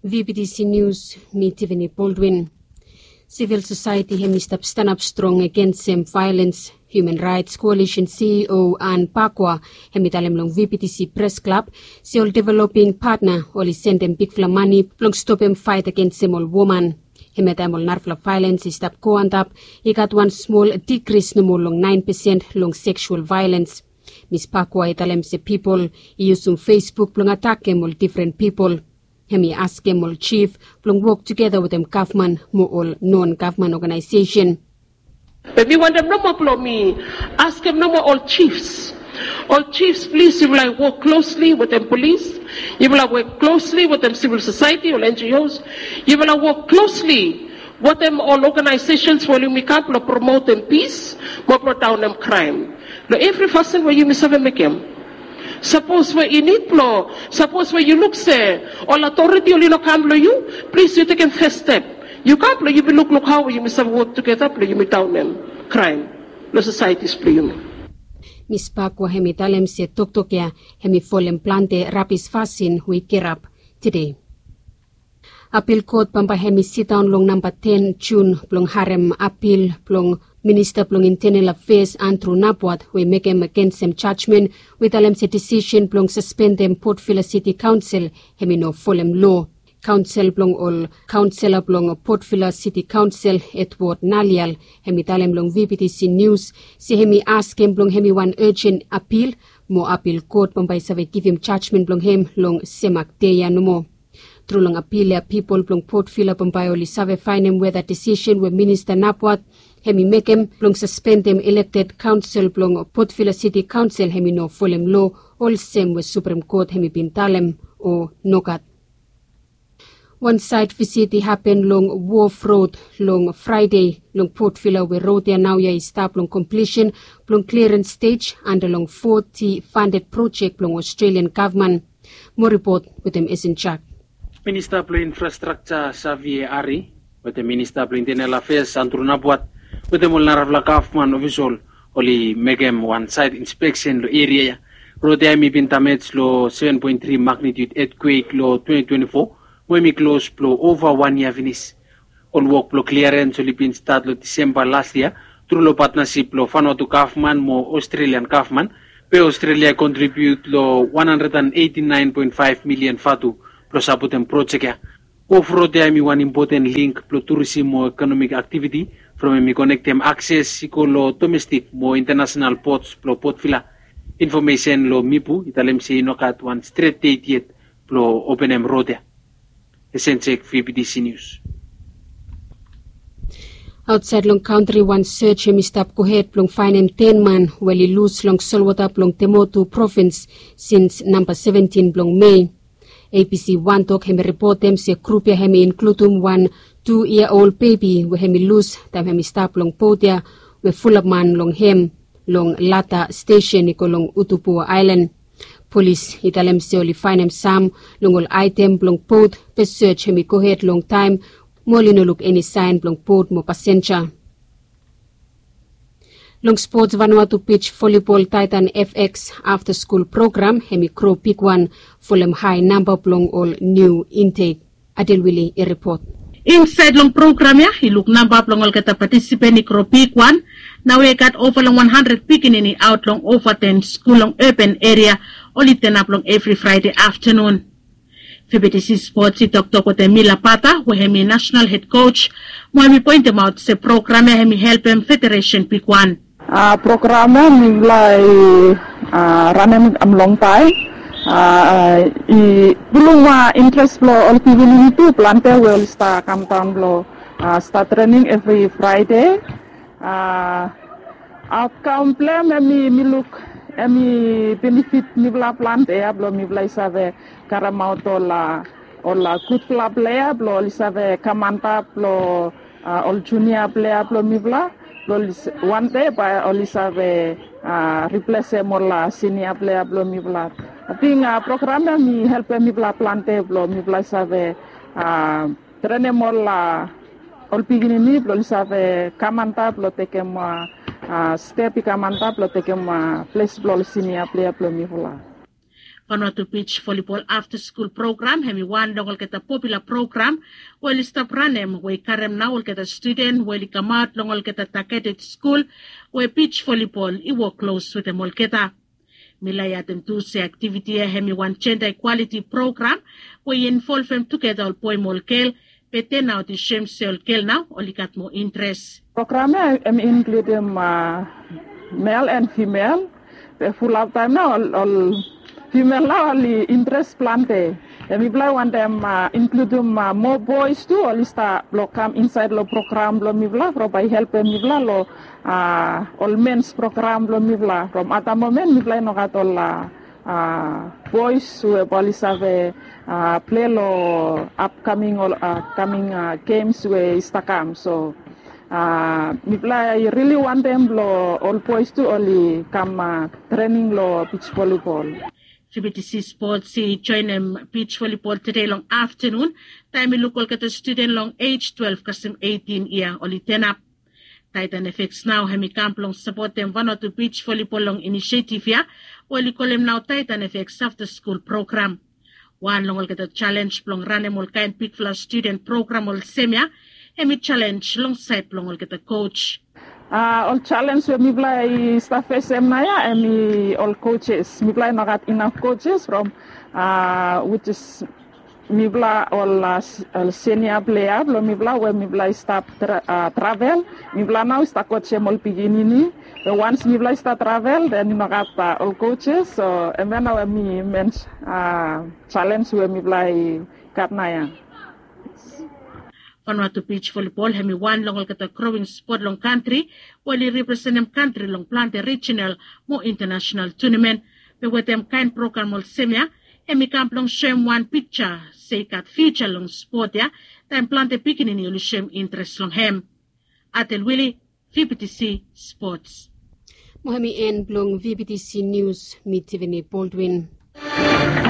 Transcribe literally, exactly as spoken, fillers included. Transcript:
V B T C News, mi Tiffany Baldwin. Sivil sosaeti hem i stap stanap strong agensem vaelens. Human Rights Koalisen C E O Ann Pakua hem i talem long V B T C Pres Klab se ol developing patna oli sendem bigfala mane blong stopem faet agensem ol woman. Hem ya taem ol narafala vaelens i stap go antap, i gat wan smol dikris nomo long naen pesen long seksual vaelens. Mis Pakua i talem se pipol i yusum Facebook blong atakem ol difren pipol. Hem i askem ol jif blong wok tugeta wetem gavman mo ol non gavman oganaesesen. Be mi wantem nomo blong mi askem nomo ol jifs. Ol jifs, plis yufala i wok klosli wetem polis. Yufala wok klosli wetem sivil sosaeti, ol N G Os. Yufala wok klosli wetem ol oganaesesens we oli mekem blong promotem pis mo blo daonem kraem. Long evri fasin we yumi save mekem. Sapos we i nid blo, sapos we yu luk se ol atoriti oli no kam long yu, plis yu tekem fes step. Yu kam blo yumi lukluk hao we yumi save wok tugeta blo yumi daonem kraem long sosaetis blo yumi. Mis Pakua hem i talem se toktok ya hem i folem plante rabis fasin we i kirap tede. Apil kot bambae hem i sidaon long namba ten Jun blong harem apil blong Minista blong Intenel Afeas Andrew Napwat we i mekem agensem jajmen we i talem se disisen blong saspendem Port Vila Siti Kaonsel hem i no folem loa. Kaonsel blong ol kaonsela blong Port Vila Siti Kaonsel, Edward Nalial, hem i talem long V B T C Nius se hem i askem blong hem i wan ejen apil mo apil kot bambae i save givim jajmen blong hem long semak dei ya nomo. Tru long apil ya pipol blong Port Vila bambae oli save faenem weda disisen we Minista Napwat hem i mekem blong saspendem ilekted kaonsel blong Port Vila Siti Kaonsel hem i no folem loa olsem we Suprem Kot hem i bin talem o nogat. Wan saet visit i hapen long Wof Rod long Fraede long Port Vila we rod ya naoia i stap long komplisen blong kliarens stej anda long foti fanded projek blong Australian gavman. Mo ripot wetem Esen Jak. Minista blong Infrastrakja Savie Ari wetem Minista blong Intenel Afeas Andrew Napwat wetem ol narafala gavman ofisol oli mekem wan saet inspeksen long eria ya. Rod ya hem i bin damej long seven point three magnitude etkwek long twenty twenty-four mo hem i klos blong ova wan yia finis. Ol wok blong kliarens oli bin stat long Disemba las yia tru long patnasip blong Vanuatu gavman mo Australian gavman. Be Australia i kontribiut long one hundred and eighty-nine point five milian vatu blong sapotem projek ya. Wof Rod ya hem i wan impoten link blong turisim mo ekonomik aktiviti from hem i konektem akses i go long domestik mo intanasenal pots blong Port Vila. Infomesen long Mipu i talem se i no gat wan stret det yet blong openem rod ya. Esen Jak, V B T C Nius. Aotsaed long kantri wan sej hem i stap gohed blong faenem ten man we oli lus long solwota blong Temotu provins sins namba seventin blong Mei. A B C Wan Tok hem i ripotem se grup ya hem i inkludum wan tu yia ol bebi we hem i lus taem hem i stap long bot ya we fulap man long hem long Lada stesen i go long Utupu Aelan. Polis i talem se oli faenem sam long ol aetem blong bot be sej hem i gohed longtaem mo oli no luk eni saen blong bot mo pasenja. Long spots, Vanuatu Beach Volleyball Titan F X afta skul program hem i gro bigwan folem hae namba blong ol niu intek. Adel Wili i ripot. Insaed long program ya i luk namba blong olgeta patisipen i gro bigwan. Naoia i gat ova long wan handred pikinini aot long ova ten skul long urban eria oli tenap long evri Fraede aftanun. V B T C Sports i toktok wetem Mila Pata we hem i nasenal hed kos mo hem i poentemaot se program ya hem i helpem federesen bigwan. A, program ya mifala i, a, ranem longtaem. A, i pulum, a, interes blong ol pikinini tu plante we oli stap kamdaon blong, a, stap trening evri Fraede. A, aotkaem blong hem hemi, mi luk hemi benefit mifala plante ya blong mifala i save karemaot ol, a, ol, a, gudfala plea blong oli save kam antap long, a, ol junia plea blong mifala blong oli s-, wande bae oli save, a, riplesem ol, a, sinia plea blong mifala. Ating, a, program ya hemi helpem mifala plante blong mifala i save, a, trenem ol, a, ol pikinini blong oli save kam antap blong tekem, a, a, step i kam antap blong tekem, a, ples blong ol sinia plea blong mifala. Vanuatu Beach Volleyball After School Program hemi wan long olgeta popula program we oli stap ranem we i karem nao olgeta studen we oli kamaot long olgeta targeted skul we beach volleyball i wok klos wetem olgeta. Mi laik adem tu se aktiviti ya hemi wan jenda ikwaliti program we i involvem tugeta ol boe mo ol gel, be tenaot i soem se ol gel nao oli gat moa interes. Program ya hemi inkludim mel and fimel, be fulap taem nao ol fimel nao oli interes plante. Be mipela i wantem inkludim moa boes tu oli stap blong kam insaed long program blong mipela from bae i helpem mipela long ol mens program blong mipela from ata momen mipela i no gat ol boes we bae oli save plei long apkaming ol apkaming gems we i stap kam. So mipela i rili wantem blong ol boes tu oli kam trening long beach volleyball. Fifty Six Sports i joenem beach volleyball tede long aftanun taem i luk olgeta studen long ej twelve kasem eighteen yia oli tenap. Titan F X nao hemi kam blong sapotem Vanuatu Beach Volleyball long inisiativ ya we oli kolem nao Titan F X After School Program. Wan long olgeta jalenj blong ranem ol kaen bigfala studen program olsem ya hemi jalenj long saed blong olgeta koj. Ol jalenj we mipela i stap fesem naoia hemi ol koses. Mipela i no gat inaf koses from wis is mipela ol senia plea blong mipela we mipela i stap travel. Mipela nao i stap kojem ol pikinini, be wans mipela i stap travel den i no gat ol koses. So hemia nao hemi men jalenj we mipela i gat naoia. Vanuatu Beach Volleyball hemi wan long olgeta growing spot long kantri we oli representem kantri long plante rijinal mo intanasenal tunamen. Be wetem kaen program olsem ya hemi kam blong soem wan piksa se i gat fiusa long spot ya taem plante pikinini oli soem interes long hem. Atel Wili, V B T C Sports. Mo hemi en blong V B T C Nius, mi Tiffany Baldwin.